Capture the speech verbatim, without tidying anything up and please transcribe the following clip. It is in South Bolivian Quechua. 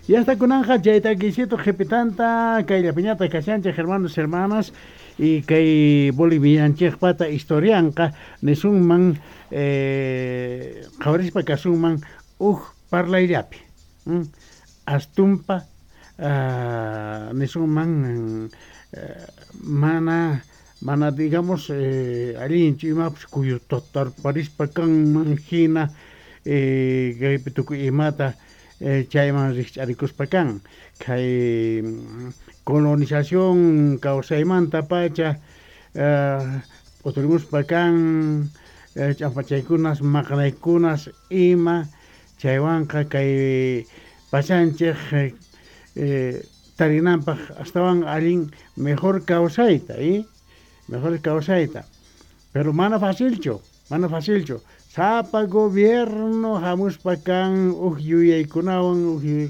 Ya está kunanja chay takisito qhipitanta kayllapiñataq kashanchik, hermanos, hermanas, y kay Bolivianchikpata historianqa nisunman eh, qhawarispa kasunman uj parlayllapi mm, astumpa uh, nisunman eh, mana mana digamos eh, allinchu imapas kuyutatarparispa kanman hina eh, kaypi tukuy imata eh, chayman rikch'arikuspa kan kay colonización kawsaymanta pacha uh, p'uturimuspa kan eh, ch'ampachaykunas maqanaykunas ima chaywanqa kay pachanchik eh, tarinanpaq astawan allin mejor kawsayta y mejor kawsayta, pero mana facilchu, mana facilchu. Sapa gobierno hamuspa kan uj yuyaykunawan, uj yuyaykunawan.